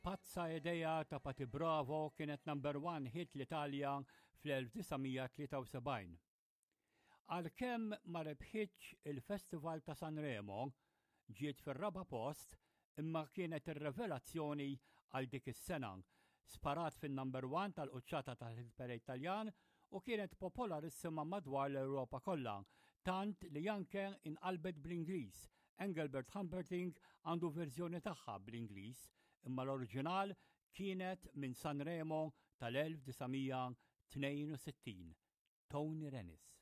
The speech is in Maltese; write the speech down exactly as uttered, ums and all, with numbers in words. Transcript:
Pazza Idea ta' Patty Pravo kienet number one hit l-Italja fl-elf disa' mija tlieta u sebgħin. Għalkemm ma rebħitx il-Festival ta' Sanremo, ġiet fir-raba' post, imma kienet ir-revelazzjoni għal dik is-sena. Sparat fin-number one tal-quċċata tal-hit parade Taljan u kienet popolarissima madwar l-Ewropa kollha, tant li anke inqalbet bl-Ingliż. Engelbert Humperdinck għandu verżjoni tagħha bl-Ingliż, imma l-oriġinal kienet minn Sanremo tal-elf disa' mija tnejn u sittin. Tony Renis.